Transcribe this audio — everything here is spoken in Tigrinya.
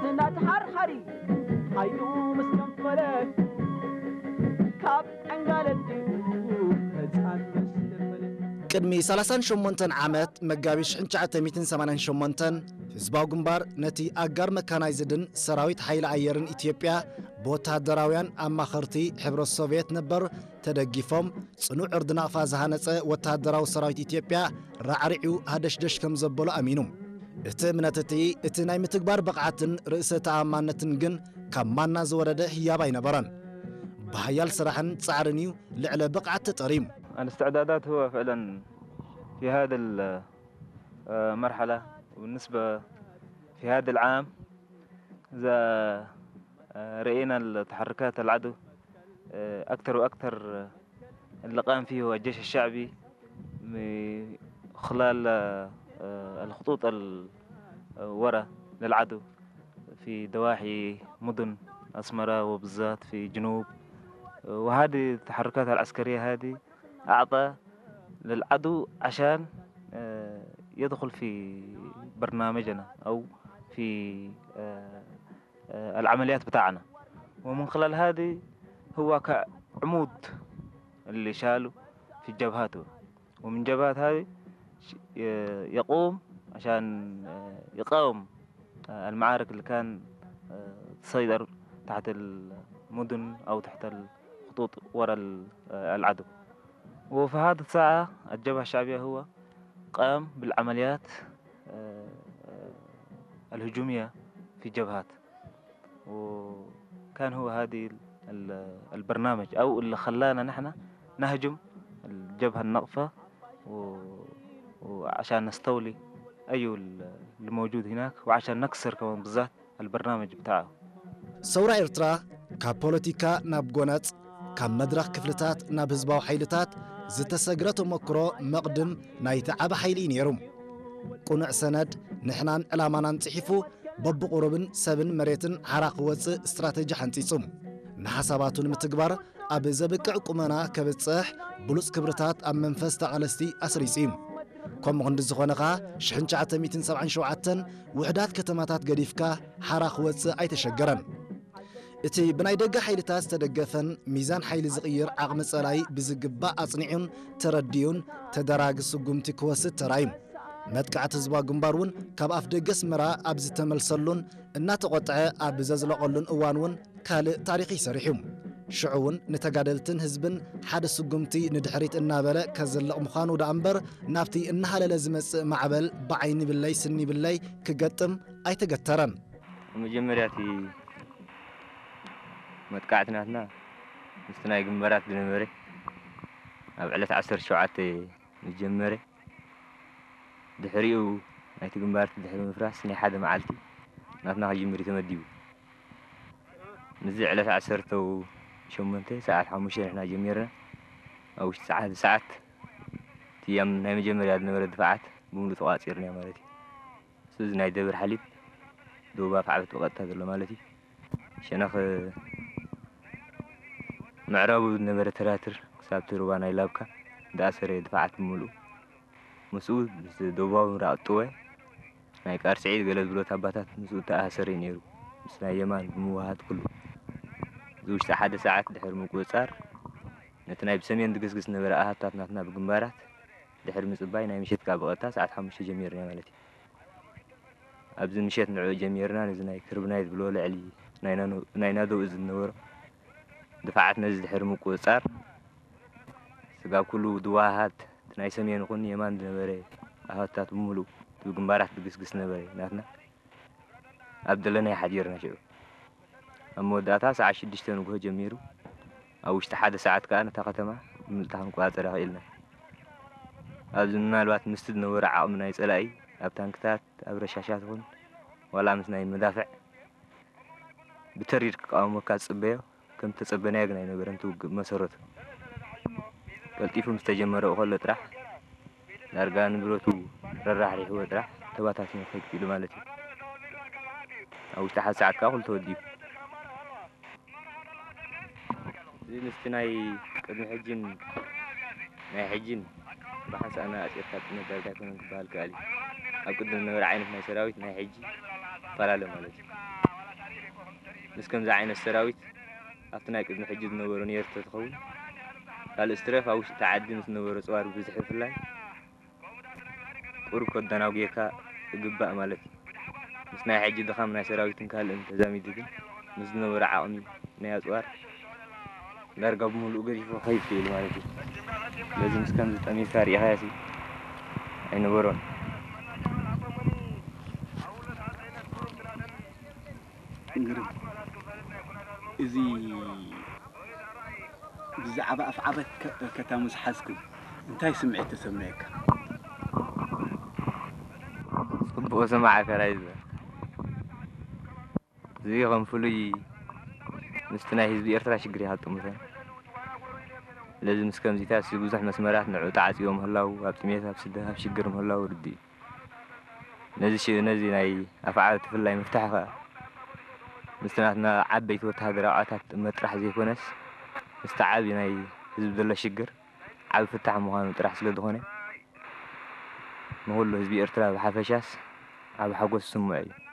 እናተሓርሓሪ ሓይሉ ምስ ገንፈለ ካብ ዕንጋለ ኣዲኡ ህፃን ምስ ፈለ። ቅድሚ ሰላሳን ሸሞንተን ዓመት መጋቢት ሽሕን ትሽዓተ ሚእትን ሰማንያን ሸሞንተን ህዝባዊ ግንባር ነቲ ኣጋር መካናይዝድን ሰራዊት ሓይሊ ኣየርን ኢትዮጵያ ብወተሃደራውያን ኣማኸርቲ ሕብረት ሶቭየት ነበር ተደጊፎም ጽኑዕ ዕርዲ ናቕፋ ዝሃነጸ ወተሃደራዊ ሰራዊት ኢትዮጵያ ራዕሪዑ ሃደሽደሽ ከም ዘበሎ ኣሚኑ። እቲ እምነት እቲ፣ እቲ ናይ ምትግባር ብቕዓትን ርእሰ ተኣማንነትን ግን ካብ ማና ዝወረደ ህያብ ኣይነበረን። ብሃያል ስራሕን ጻዕርን እዩ ልዕለ ብቕዓት ተጠርዩ። الاستعدادات هو فعلًا في هذا ال-، آه، مرحلة، وبالنسبة في هذا العام إذا، آه، رأينا التحركات العدو، آه، أكثر وأكثر، آه، اللي قام فيه هو الجيش الشعبي من خلال، آه، الخطوط ال-، آه، ورا للعدو في ضواحي مدن أسمرة، وبالذات في جنوب. وهذه التحركات العسكرية هذه أعطى للعدو عشان، آه، يدخل في برنامجنا أو في، آه، آه، العمليات بتاعنا. ومن خلال هذه هو كعمود اللي شاله في الجبهات، ومن جبهات هذه ش-، ي-، يقوم عشان، آه، يقاوم، آه، المعارك اللي كان، آه، تسيطر تحت المدن أو تحت الخطوط ورا ال-، آه، العدو. وفي هذه الساعة الجبهة الشعبية هو قام بالعمليات، آه، آه، الهجومية في جبهات. وكان هو هذه ال-، ال-، البرنامج أو اللي خلانا نحن نهجم الجبهة الناقفة و-، وعشان نستولي أيو ال-، اللي موجود هناك، وعشان نكسر كمان بالذات البرنامج بتاعه. ሰውራ ኤርትራ ካብ ፖለቲካ ናብ ጎነጽ፣ ካብ መድረኽ ክፍልታት ናብ ህዝባዊ ሓይልታት ዝተሰግረ ተመክሮ መቕድም ናይቲ ዓቢ ሓይሊ እዩ ነይሩ። ቅኑዕ ሰነድ ንሕናን ዕላማናን ጽሒፉ፣ በብቑሩብን ሰብን መሬትን ሓራ ክወጽእ ስትራተጂ ሓንጺጹ። ንሓሳባቱ ንምትግባር ኣብ ዘብቅዕ ቁመና ከብጽሕ ብሉጽ ክብርታት ኣብ መንፈስ ተቓለስቲ ኣስሪጹ እዩ። ከምኡ ክንዲ ዝኾነ ኸኣ ሽሕን ትሽዓተ ሚእትን ሰብዓን ሸውዓተን ውሑዳት ከተማታት ገዲፍካ ሓራ ክወጽእ ኣይተሸገረን። እቲ ብናይ ደገ ሓይልታት ዝተደገፈን ሚዛን ሓይሊ ዝቕይር ዓቕሚ ጸላኢ ብዝግባእ ኣጽኒዑን ተረዲኡን ተደራጊ ስጉምቲ ክወስድ ተራእዩ። መጥቃዕቲ ህዝባዊ ግንባር እውን ካብ ኣፍ ደገ ኣስመራ ኣብ ዝተመልሰሉን እናተቖጥዐ ኣብ ዘዝለቐሉን እዋን እውን ካልእ ታሪኽ እዩ ሰሪሑ። ሽዑ እውን ንተጋደልትን ህዝብን ሓደ ስጉምቲ ንድሕሪት እናበለ ከዝልቕ ምዃኑ ደኣ እምበር፣ ናብቲ እናሃለለ ዝመጽእ ማዕበል ብዓይኒ ብለይ ስኒ ብለይ ክገጥም ኣይተገተረን። መጀመርያ እቲ መጥቃዕቲ ናትና ምስቲ ናይ ግንባራት ዝነበረ ኣብ ዕለት ዓሰርተ ሸውዓተ ምስ ጀመረ፣ ድሕሪኡ ናይቲ ግንባር ድሕሪ ምፍራስ ናይ ሓደ መዓልቲ ናትና ክጅምር እዩ ተመዲቡ። ምስዚ ዕለት ዓሰርተ ሸሞንተ ሰዓት ሓሙሽተ ንሕና ጀሚርና፣ ኣብ ውሽጢ ሰዓት፣ ሰዓት እቲ ኣብ ናይ መጀመርያ ዝነበረ ድፋዓት ብምሉእ ተቋጺርና ማለት እዩ። እሱ እዚ ናይ ደብር ሓሊብ ዶብ ኣፍዓበት ብቐጥታ ዘሎ ማለት እዩ። ሸነኽ ምዕራቡ ዝነበረ ተራትር ክሳብ እቲ ሩባ ናይ ላብካ እንዳኣሰረ ድፋዓት ብምሉኡ። ምስኡ ምስ ደቡባዊ ምራቕ ጥወ ናይ ቃርሲዒ ገለ ዝብሎ ኣባታት ምስኡ ተኣሳሰረ ነይሩ። ምስ ናይ የማን ብምውሃሃድ ኩሉ። እዚ ውሽጢ ሓደ ሰዓት ድሕሪ ምቁጽጻር፣ ነቲ ናይ ብሰሜን ዝግስግስ ዝነበረ ኣሃታት ናትና ብግንባራት ድሕሪ ምጽባይ፣ ናይ ምሸት ከኣ ብቐጥታ ሰዓት ሓሙሽተ ጀሚርና ማለት እዩ። ኣብዚ ምሸት ንዕኡ ጀሚርና፣ ነዚ ናይ ክርብናይ ዝብሎ ልዕሊ ናይ ናኖ-፣ ናይ ናደው እዝ ዝነበሮ ድፋዓት ነዚ ድሕሪ ምቁጽጻር፣ ስጋብ ኩሉ ዝወሃሃድ እቲ ናይ ሰሜን ይኹን የማን ዝነበረ ኣሃታት ብምሉእ እቲ ብግንባራት ዝግስግስ ነበረ ናትና። ኣብ ደለናዮ ሓዲርና ሽዑ። ኣብ መወዳእታ ሰዓት ሽዱሽተ ንግሆ ጀሚሩ፣ ኣብ ውሽጢ ሓደ ሰዓት ከኣ ነታ ከተማ ብምልእታ ክንቆጻጸራ ክኢልና። ኣብዚ ምናልባት ምስቲ ዝነበረ ዓቕሚ ናይ ጸላኢ፣ ኣብ ታንክታት፣ ኣብ ረሻሻት ይኹን ዋላ ምስ ናይ መዳፍዕ ብተሪር ክቃወመካ ዝጽበዮ፣ ከም ዝተጸበናዮ ግን ኣይነበረን እቲ ውግእ ብመሰረቱ። ቀልጢፉ ምስ ተጀመረ ከሎ ጥራሕ፣ ዳርጋ ንብረቱ ረራሕሪሕዎ ጥራሕ ተባታቲኑ ክኸይድ ክኢሉ ማለት እዩ። ኣብ ውሽጢ ሓደ ሰዓት ከኣ ኩሉ ተወዲኡ። እዚ ምስቲ ናይ ቅድሚ ሕጅን ናይ ሕጅን ብሓንሳእ ኣነጻጺርካ ዝጥመት ዳርጋ ኣይኮነን ክበሃል ይከኣል እዩ። ኣብ ቅድም ዝነበረ ዓይነት ናይ ሰራዊት ናይ ሕጂ ይፈላለ ማለት እዩ። ምስ ከምዚ ዓይነት ሰራዊት ኣብቲ ናይ ቅድሚ ሕጂ ዝነበሮ ኔር ተትኸውን፣ ካልእ ስትረፍ ኣብ ውሽጢ ዓዲ ምስ ዝነበሮ ጽዋር ብዝሒ ብፍላይ ቁሩብ ከደናጉየካ ይግባእ ማለት እዩ። ምስ ናይ ሕጂ ድኻም ናይ ሰራዊትን ካልእን ተዛሚዱ ግን ምስ ዝነበሮ ዓቕሚ ናይ ኣጽዋር ዳርጋ ብምሉኡ ገዲፉ ክኸይድ ክኢሉ ማለት እዩ። ስለዚ ምስ ከምዚ ጠሚርካ ርኢኻዮሲ ኣይነበሮን። እንግዲህ እዚ ብዛዕባ ኣፍዓበት ከ- ከተማ ዝሓዝኩም እንታይ ስምዒት ተሰመየካ? ጽቡቕ ስማዕ ከራይ ዝበል እዚ ከም ፍሉይ ምስቲ ናይ ህዝቢ ኤርትራ ሽግር ይሃጥሙተን። ስለዚ ምስ ከምዚታት እዚ ብዙሕ መስመራት ንዑ ተዓጽዮ ምህላው ኣብ ጥሜት ኣብ ስደት ኣብ ሽግር ምህላው ርዲ እዩ። ነዚ ሽ- ነዚ ናይ ኣፍዓበት ብፍላይ ምፍታሕ ከኣ ምስቲ ናትና ዓበይቲ ወተሃደራዊ ዓታት ጥመት ጥራሕ ዘይኮነስ ምስቲ ዓቢ ናይ ህዝቢ ዘሎ ሽግር ዓቢ ፍታሕ ምዃኑ ጥራሕ ስለ ዝኾነ ንኹሉ ህዝቢ ኤርትራ ብሓፈሻስ ዓቢ ሓጎስ ዝስምዖ እዩ።